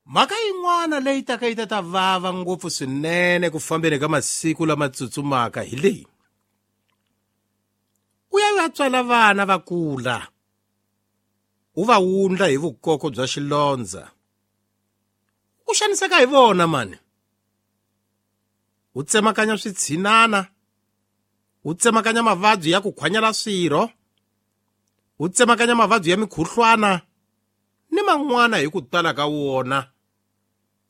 Mhaka yin'wana leyi taka yi ta ta vava ngopfu swinene ku fambeni ka masiku lama tsutsumaka hi leyi. U ya u ya tswala vana va kula, u va wundla hi vukoko bya xilondza. U xaniseka hi vona mani. U tsemakanya switshinana, u tsemakanya mavabyi ya ku khwanyela swirho, u tsemakanya mavabyi ya mikhuhlwana ni man'wana hi ku tala ka wona,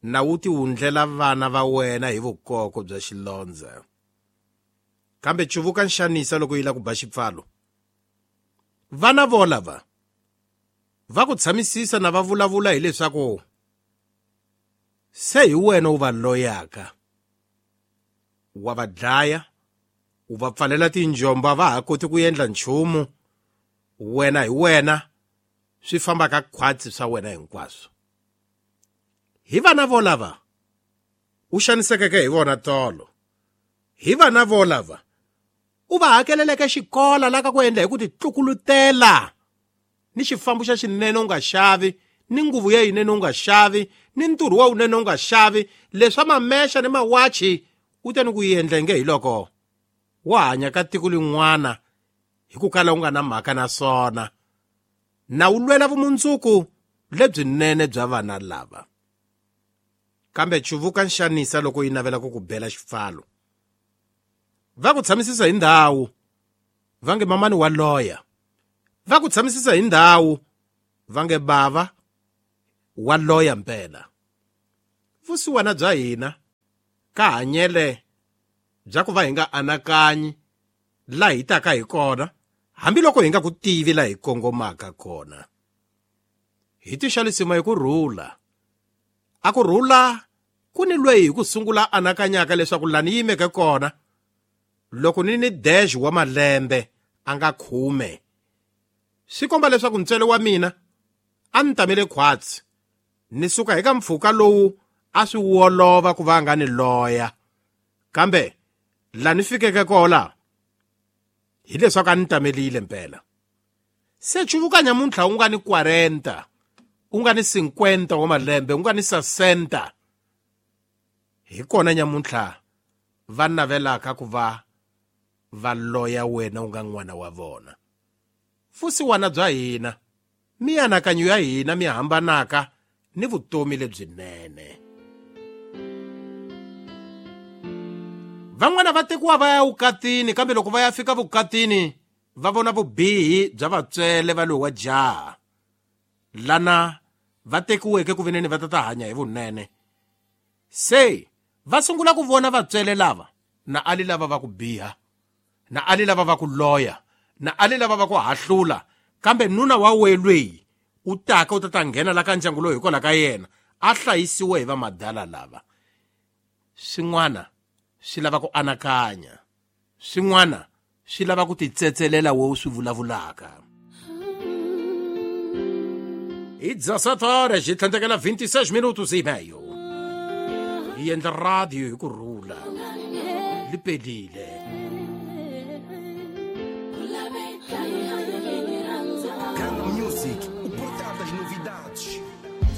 na wu ti wundlela vana va wena hi vukoko bya xilondza. Kambe cuvuka nxanisa loko yi la ku ba xipfalo. Vana volava va ku tshamisisa na va vulavula hileswaku se hi wena u va loyaka, wa va dlaya, u va pfalela tinjomba va ha koti ku endla nchumu, wena hi wena swi fambaka khwatsi swa wena hinkwaswo. Hi vana volava u xanisekeke hi vona tolo, hi vana volava u va hakeleleke xikola la ka ku endla hi ku titlukulutela ni xifambo xa xinene u nga xavi, ni nguvu ya yinene u nga xavi, ni nturhu wa wunene u nga xavi, leswa mamexa ni mawachi u te ni ku endla nge hi loko wa hanya ka tiko lin'wana hi ku kala u nga na mhaka na swona, na wu lwela vumundzuku lebyinene bya vana lava. Kambe cuvuka nxanisa loko yi navela ku ku bela xipfalo. Va ku tshamisisa hi ndhawu va nge mamani wa loya, va ku tshamisisa hi ndhawu va nge bava wa loya mpela. Vusiwana bya hina ka hanyele bya ku va hi nga anakanyi la hi taka hi kona, hambiloko hi nga ku tivi la hi kongomaka kona. Hi tixalisima hi ku rhula. A ku rhula ku ni lweyi hi ku sungula anakanyaka leswaku la ni yimeke kona loko ni ni dash wa malembe a nga 10, swi komba leswaku ntswele wa mina a ni tamele khwatsi, ni suka eka mpfhuka lowu a swi wolova ku va nga ni loya, kambe la ni fikeke kona hileswaku a ni tamelile mpela. Se cuvuka nyamuntlha u nga ni 40, u nga ni 50 wa malembe, u nga ni 60, hi kona nyamuntlha va navelaka ku va va loya wena u nga n'wana wa vona. Vusiwana bya hina, mianakanyo ya hina mi hambanaka ni vutomi lebyinene. Van'wana va tekiwa va ya vukatini, kambe loko va ya fika vukatini va vona vubihi bya vatswele va lowa jaha lana va tekiweke ku veneni va ta ta hanya hi vunene. Se va sungula ku vona vatswele lava na ali lava va ku biha, na ali lava va ku loya, na ali lava va ku hahlula, kambe nuna wa welweyi u taka u ta ta nghena la ka ndyangu lowu hikwalaho ka yena a hlayisiwe hi vamadala lava. Swin'wana swi lava ku anakanya, swin'wana swi lava ku titsetselela wo swi vulavulaka. Hi 17 horas hi tlhandlekela 26 minutos e meio. Hi endla radio hi ku rhula, li pelile.